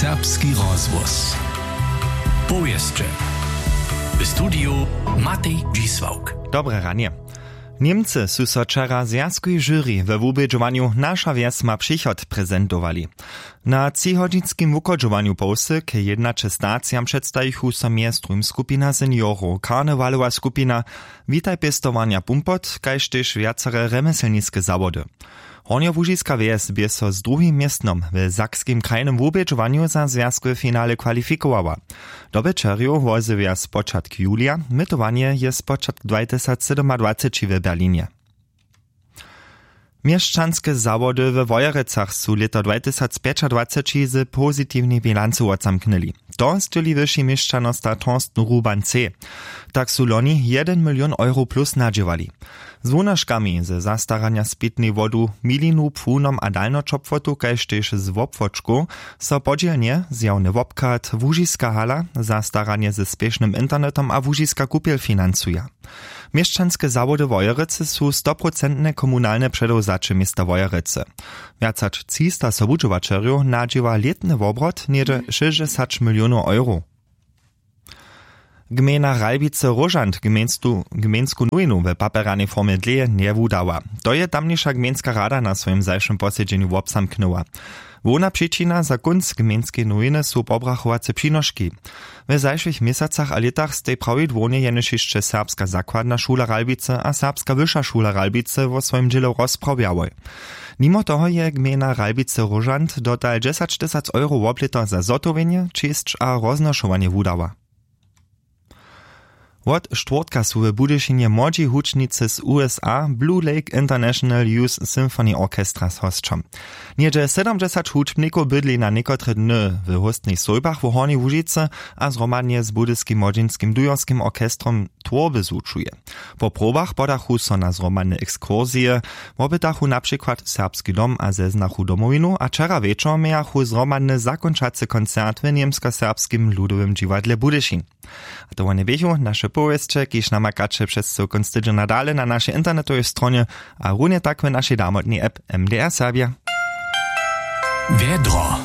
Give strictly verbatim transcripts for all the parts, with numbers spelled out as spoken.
Serbski rozhłos. Powěsće. W studiju Matej Dźisławk. Dobre ranje. Němcy su so wčera w zwjazkowej žuri we wubědźowanju Naša wjes ma přichod prezentowali. Na třihodźinskim wuchodźowanju połsy k jednaće stacijam předstajichu so mjez druhim skupina seniorow, karnewalowa skupina, witaj pěstowarnja Pumpot, kaž tež wjacere rjemjeslniske zawody. Hornjołužiska wjes bě so z druhim městnom w sakskim krajnym wubědźowanju za zwjazkowe finale kwalifikowała. Dobyćerjow wozjewja spočatk julija, mytowanje je spočatk dwatysacsydomadwaceći w Berlinje. Měšćanske zawody we Wojerecach su lěto dwatysacpjećadwaceći z pozitiwnej bilancu wotzamknyli. To sćěli wyši měšćanosta Thorsten Ruban C. Tak su loni jedyn milion euro plus nadźěłali. Z wunoškami ze zastaranja spětnej wodu, milinu, płunom a dalnoćopłotu kaž tež z wobwočkow so podźělnje zjawny wobchad, łužiska hala, zastaranje ze spěšnym internetom a łužiska kupjel financuja. Měšćanske zawody Wojerecy su stoprocentne komunalne předewzaće města Wojerecy. Wjac hač třista sobudźěłaćerjow nadźěła lětny wobrot něhdźe šěsćdźesać milionow euro. Gmejna Ralbicy Róžant gmejnsku nowinu w papjerjanej formje dlěje njewudała. To je tamniša gmejnska rada na swojim zašłym posedźenju wobzamknyła. Hłowna přičina za kónc gmejnskeje nowiny su pobrachowace přinoški. W zašłych měsacach a lětach stej prawidłownje jenož hišće serbska zakładna šula Ralbicy a serbska wyša šula Ralbicy wo swojim dźělu rozprawjałoj. Nimo toho je gmejna Ralbicy Róžant dotal dźesaćtysac euro woblěto za zhotowjenje, čěsć a roznošowanje wudała. Wot štwórtka su w Budyšinje młodźi hudźbnicy z U S A Blue Lake International Youth Symphony Orchestra z hosćom. Něhdźe sydomdźesać hudźbnikow bydli na někotre dny w hóstnich sójbach w Hornjej Łužicy a zhromadnje z Budyskim młodźinskim dujerskim orchestrom twórby zwučuje. Po probach podachu so na zhromadne ekskursije, wopytachu na přikład Serbski dom a zeznachu Domowinu a wčera wječor mějachu zhromadny zakónčacy koncert w Němskoserbskim ludowym dźiwadle Budyšin. A to wone běchu naše powěsće, kiž namakaće přez cyłkon stydźenja dale na našej internetowej stronje a runje tak w našej damotnej app M D R Serbja. Wjedro.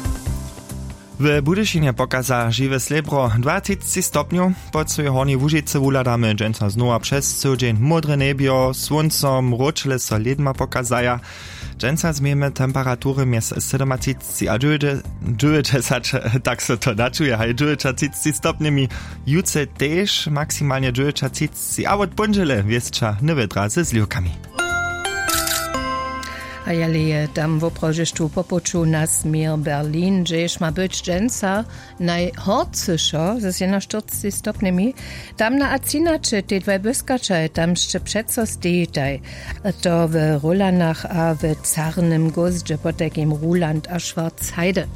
W Budyšinje pokaza žiwe slěbro dwatřicci stopnjow. Po cyłej Hornjej Łužicy wuhladamy dźensa znowa přez cyły dźeń módre njebjo, słónco, mróčle so lědma pokazaja. Dźensa změjemy temperatury mjez sydomatřicci a dźewjećdźesat, tak so to načuje, haj, dźewjećatřicci stopnjemi. Jutře tež maksimalnje dźewjećatřicci a wot póndźele wěsća nowjedra ze zliwkami. A jale je tam woprawdźe štó po puću na směr Berlin, hdźež ma być dźensa najhorcyšo z jedynaštyrcci stopnjemi, tam na acinaće tej dwaj błyskaćaj tam sće přeco stejitaj. To w Rulanach a w Carnym Gózdźe, potajkim Ruland a Schwarzheide.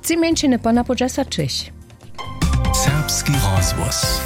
Tři mjeńšiny po napoł dźesaćich. Serbski rozhłos.